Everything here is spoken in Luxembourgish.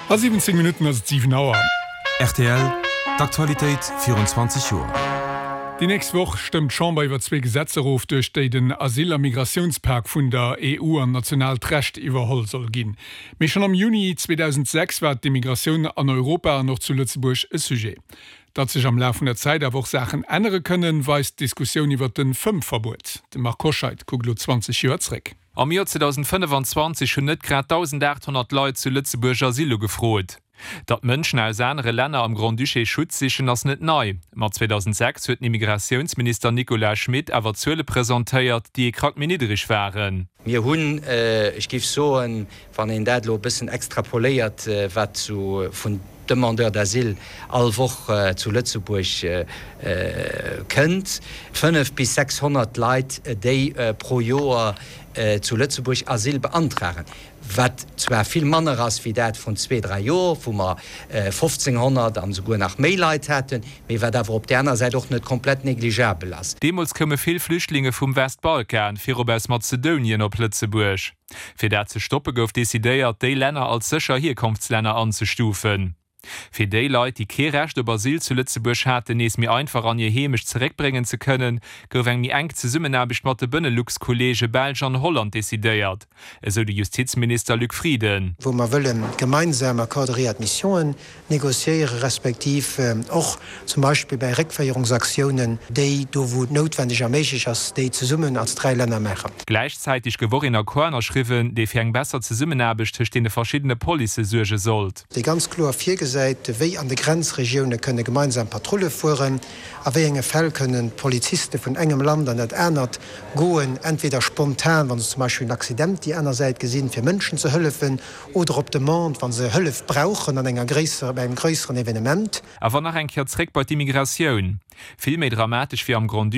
A 17 Minutten ass et 7 Auer. Rtl, D'Aktualitéit virun 20 Joer. Déi nächst Woch stëmmt d'Chamber iwwer zwee Gesetzer of, duerch déi den Asyl a Migratiounspak vun der EU an nationaalt Recht iwwerholl soll ginn. Mee schonn am Juni 2006 war d'Immigratioun an Europa an och zu Lëtzebuerg e Sujet. Datt sech am Laf vun der Zäit awer och Saachen ännere kënnen, weist d'Diskussioun iwwer de Fëmmverbuet. De Marc Hoscheid kuckt elo 20 Joer zréck. Am Joer 2025 hunn net grad 1.800 Leit zu Lëtzebuerg Asyl ugefrot. Datt Mënschen aus anere Länner am Grand-Duché Schutz sichen, ass net nei. Ma 2006 huet den Immigratiounsminister Nicolas Schmit awer Zuele presentéiert, déi ee Krack méi niddereg waren. Mir hunn, ech géif soen, wann een dat elo e bëssen extrapoléiert, wat sou vun Demandeurs d'asile all Woch zu Lëtzebuerg kënnt, 5 bis 600 Leit, déi pro Joer zu Lëtzebuerg Asyl beantragen, wat zwar vill manner ass wéi dat vrun zwee, dräi Joer, wou mer 1.500 an esouguer nach méi Leit haten, mee wat awer op där aner Säit och net komplett négligeabel ass. Deemools koume vill Flüchtlinge vum Westbalkan, virop aus Mazedonien, op Lëtzebuerg. Fir dat ze stoppe gouf decidéiert, déi Länner als sécher Hierkonftslänner anzestufen. Fir déi Leit, déi kee Recht op Asyl zu Lëtzebuerg haten, nees méi einfach an hir Heemecht zeréckbréngen ze kënnen, gouf eng méi enk Zesummenaarbecht mat de Benelux-Kolleege Belsch an Holland decidéiert, esou de Justizminister Luc Frieden. Wou mer wëlle gemeinsam Accords de réadmissionen négociéiere respektiv och zum Beispill bäi Réckféierungsaktiounen, déi do wou et noutwendeg a méiglech ass, déi zesummen als 3 Länner maachen. Gläichzäiteg gouf och een Accord ënnerschriwwen, dee fir eng besser Zesummenaarbecht tëscht deene verschiddene Policë suerge sollt. Dee ganz kloer virgesäit, wéi an de Grenzregioune kënne gemeinsam Patrulle fueren, a wéi enge Fäll kënnen d'Poliziste vun engem Land an dat anert goen, entweder spontan, wa se zum Beispill en Accident déi aner Säit gesinn, fir Mënschen ze hëllefen, Oder op Demande, wa se Hëllef brauchen an enger gréisserer, bei engem gréisseren Evenement. Awer nach eng Kéier zréck bei d'Immigratioun. Vill méi dramatesch wéi am Grand-Duché.